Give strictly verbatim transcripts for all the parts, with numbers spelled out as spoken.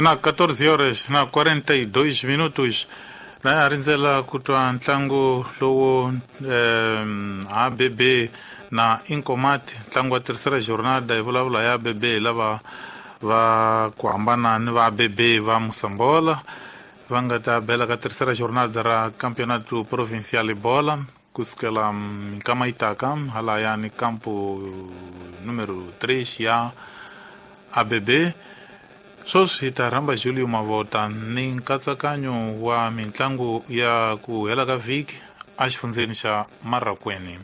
Na catorze horas na quarenta e dois minutos la a rindzela ku twa ntlangu lowu eh, A B B na Incomat, ntlangu wa terceira jornada. Hi vulavula ya A B B lava va ku hambana ni va A B B va Moçambola va nga ta bela ka terceira jornada ra Campeonato Provincial Bola kusukela minkama yi taka halayani campo número três ya A B B. Sweswi hi ta rhamba Julio Mavota ni nkatsakanyo wa mintlangu ya ku hela ka vhiki exifundzeni xa Marracuene,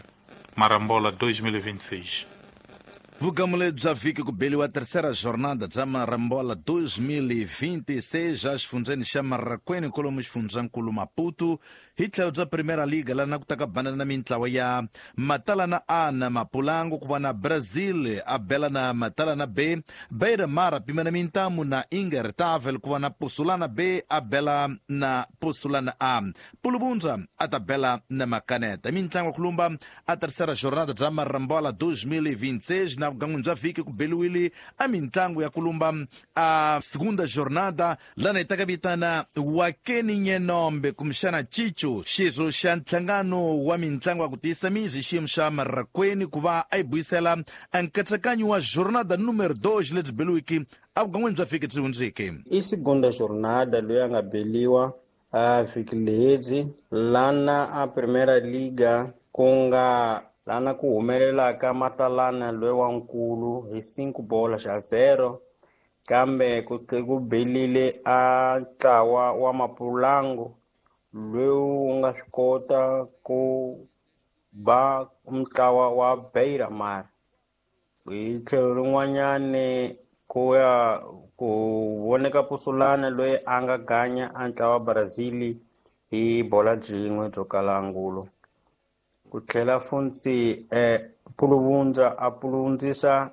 Marambola dois mil e vinte e seis. Vugamule bya vhiki ku beliwa terceira jornada bya Marambola dois mil e vinte e seis exifundzeni xa Marracuene kwalomu xifundzankulu Maputo. Hi tlhelo bya Primeira Liga lana ku ta ka banana na mintlawa ya Matalana A na Mapulango, ku va na Brazil a bela na Matalana B, Beira Mar a pima na mintamu na Ingertavel, ku va na Pusulana B a bela na Pusulana A, Pulubunza a ta bela na Macaneta. Mintlangu ya kulumba a terceira jornada bya Marambola dois mil e vinte e seis na vugan'wini bya vhiki ku beliwile a mintlangu ya kulumba a segunda jornada lana yi ta ka vitana Wakeni Nyenombe kumbexana Chicho, xirho xa nhlangano wa mintlangu ya ku tiyisa mizi xiyimo xa Marracuene, ku va a yi buyisela a nkatsakanyo wa jornada número dois lebyi beliwiki a vugan'wini bya vhiki byi hundzeke. I segunda jornada loyi a nga beliwa a vhiki lebyi lana a Primeira Liga ku nga lana ku humelelaka Matalana loyi wa nkulu hi cinco bola xa zero, kambe ku ku belile a ntlawa wa Mapulango loyi wu nga swi kota ku ba ntlawa wa Beira Mar. Hi tlhelo rin'wanyani ku ya ku voneka Pusulana loyi a nga ganya a ntlawa wa Brazil hi bola byin'we byo kala angulo. Ku tlhela funtsi eh, Puluvundza a puluvundzisa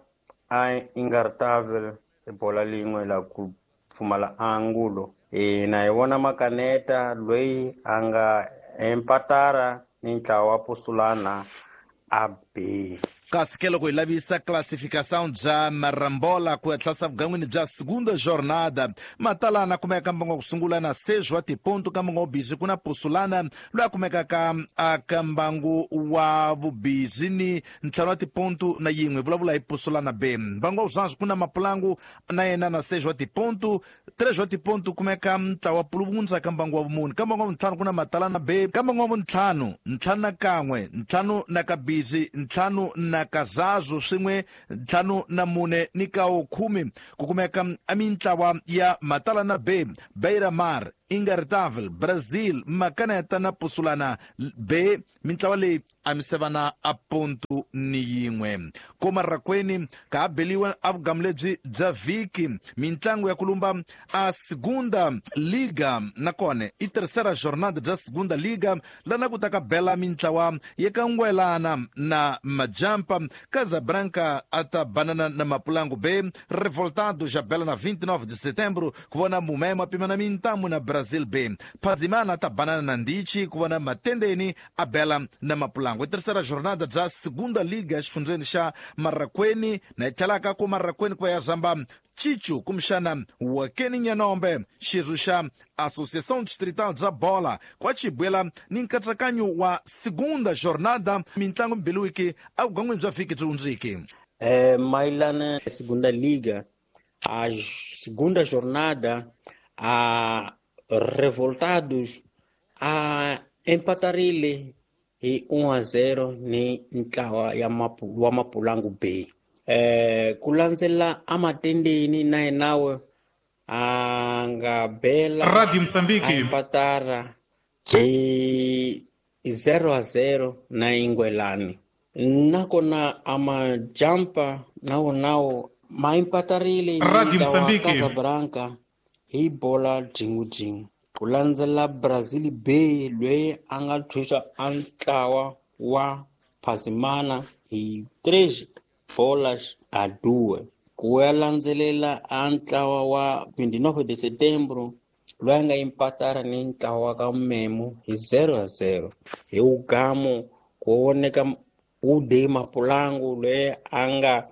a Ingartavel hi bola lin'we la ku pfumala angulo. Hina hi vona Makaneta loyi a nga empatara ni ntlawa wa Pusulana A B. Kasi ke loko hi lavisa classificação bya Marambola ku ya tlhasa vugan'wini bya segunda jornada, Matalana kumeka mbango ku sungula na seis wa tiponto ka mbango wa vubizi, ku na Pusulana loyi a kumekaka aka mbangu wa vubizi ni ntlhanu wa tiponto na yin'we. Vulavula hi Pusulana B. Mbangu wa vuzanzi ku na Mapulangu na yena na seis wa tiponto, três wa tiponto kumeka ntlawa wa Puluvundza ka mbangu wa vumune. Ka mbangu wa vuntlhanu ku na Matalana B, ka mbangu wa vuntlhanu ntlhanu na kan'we, ntlhanu na kabizi, ntlhanu na kazazo swin'we ntlhanu na mune ni kawo khume ku kumeka a mintlawa ya Matalana B, Beira Mar, Ingartavel, Brazil, Macaneta na Pusulana B. Mintlawa leyi a misevana a ponto ni yin'we. Ko Marracuene ka ha beliwa a vugamu lebyi bya vhiki mintlangu ya kulumba a segunda liga, nakona i terceira jornada bya segunda liga lana ku ta ka bela mintlawa ya ka Ngwelana na Majampa, Casabranca a ta banana na Mapulango B, Revoltado já bela na vinte e nove de setembro ku vona Mumema pima na mintamu na Brazil B, Pazimana ta banana na Ndichi ku vona Matendeni a bela na Mapulango. Terceira jornada bya segunda liga exifundzeni xa Marracuene, na yi tlhelaka ku Marracuene ku ya zamba Chicho kumbexana Wakeni Nyanombe, xirho xa Associação Distrital bya Bola kwa Chibuela ni nkatsakanyo wa segunda jornada mintlangu mbiliwiki a vugan'wini bya vhiki byi hundziki. Eh, mayelana segunda liga a segunda jornada a Revoltados a empatarile hi um a zero ni ntlawa ya mapu, wa Mapulangu B. Eh, ku landzela amatendeni na yenawe a nga bela Radio Mozambique empatara hi zero a zero na Ingwelani. Nakona amajampa nawo nawo ma empatarile Radio Mozambique Casablanca hi bola jingu jingu. Ku landzela Brazil B loyi a nga thuxa a ntlawa wa Pazimana hi três bolas a duas. Ku ya landzelela a ntlawa wa vinte e nove de setembro loyi a nga empatara ni ntlawa ka Memo hi zero a zero. Hi ugamo ku voneka Ude Mapulangu loyi a nga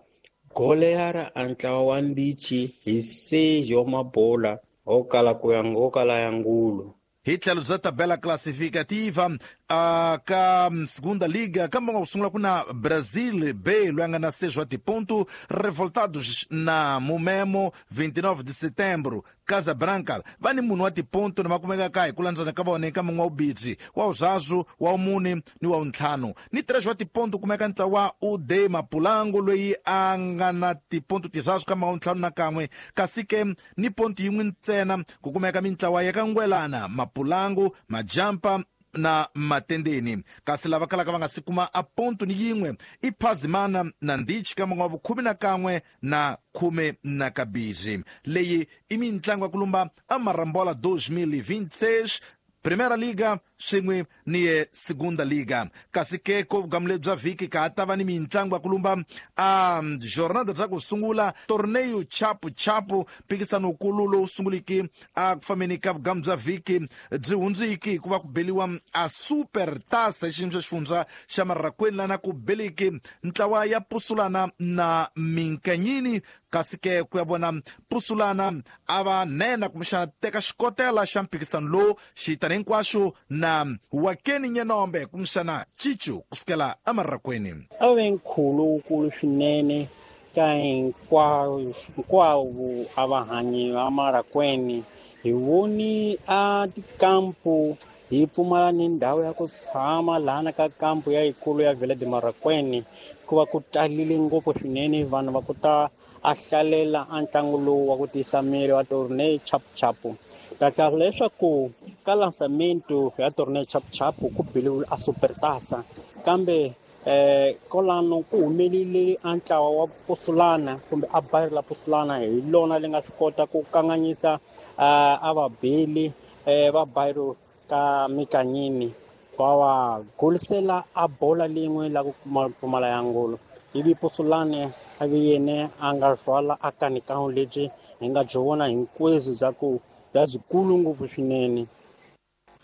Goleara a ntlawa wa Ndichi hi seis wa mabola ho kala ku ya ho kala ya ngulu. Hi tlhelo bya tabela classificativa uh, ka segunda liga kamba ku sungula ku na Brazil B loyi a nga na seis wa tiponto, Revoltados na Mumemo vinte e nove de setembro, Casa Branca va ni munhu wa tiponto na makumeka ka hi ku landzana ka vona eka mun'we wa ubidzi wa uzazu wa umune ni wa untlhanu ni três wa tiponto kumeka ntlawa wa U D Mapulango loyi a nga na tiponto tizazu ka mun'we wa ntlhanu na kan'we, kasi ke ni ponto yin'we ntsena ku kumeka mintlawa ya ka Ngwelana, Mapulango, Majampa na Matendeni. Kasi lava kalaka va nga si kuma a ponto ni yin'we i Phazimana na Ndichi ka mun'we wa vukhume na kan'we na khume na kabirhi. Leyi i mintlangu ya ku lumba a Marambola dois mil e vinte e seis, Primeira Liga swin'we ni ye Segunda Liga. Kasi ke ko vugamu lebyi bya vhiki ka ha ta va ni mintlangu ya ku lumba a jornada bya ku sungula torneio chapu chapu, mpikisano wukulu lowu sunguliki a ku fambeni ka vugamu bya vhiki byi hundziki hikuva ku beliwa a Super Taça hi xiyimo xa xifundza xa Marrakweni lana ku beliki ntlawa ya Pusulana na Minkanyini. Kasi ke ku ya vona Pusulana a va nena kumbexana teka xikotela xa mpikisano lowu xitani hinkwaxo na Wakeni Nyenombe kumbexana Chichu kusukela eMarrakweni. A ve nkhulo wukulu swinene ka hinkwavo hinkwavo a vahanyi va Marrakweni. Hi voni a tikampu hi pfumala ni ndhawu ya ku tshama lahana ka kampu ya yikulu ya Vila de Marrakweni, hikuva ku talile ngopfu swinene vanhu va ku ta a hlalela a ntlangu lowu wa ku tiyisa miri wa torneo chapuchapu. Ta hlaya leswaku ka lançamento ya torneo chapuchapu ku biliwile a Supertaça, kambe eh kolano ku humelile a ntlawa wa Pusulana kumbe a bayiri la Pusulana hi lona li nga swi kota ku kanganyisa a vabeli va bayiri ka Mikanyini va va golisela a bola lin'we la ku pfumala ya ngolo. Ivi Pusulane a vi yene a nga rhwala a kanikano lebyi hi nga byi vona hinkwenu bya ku bya byikulu ngopfu swinene.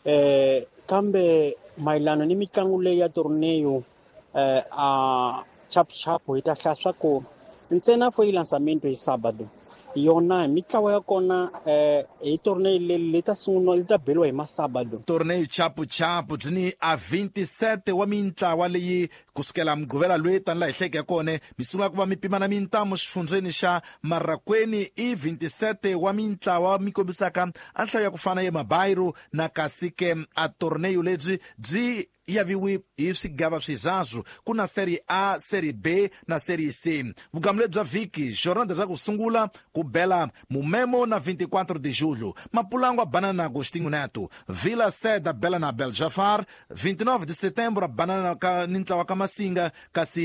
Eh kambe mayelana ni mitlangu leyi ya torneo eh a chapuchapu hi ta hlaya swa ku ntsena fo yi lançamento hi sábado yona hi mitlawa ya kona eh hi torneo leyi leyi ta sungula yi ta beliwa hi masábado. Torneo chapuchapu byi ni a vinte e sete wa mintlawa leyi kusukela Mugqivela loyi tani laha hi hleke ya kona mi sungula ku va mi pimana mintamu xifundzeni xa Marrakweni. I vinte e sete wa mintlawa mi kombisaka a nhlayo ya ku fana ya mabayiro na kasi ke a torneo lebyi byi yaviwi hi swigava swizazu ku na Série A, Série B na Série C. Vugamu lebyi bya vhiki jornada bya ku sungula ku bela Mumemo na vinte e quatro de julho, Mapulango a banana na Agostinho Neto, Vila Seda bela na Beljafar, vinte e nove de setembro a banana ka ni ntlawa ka Masinga, kasi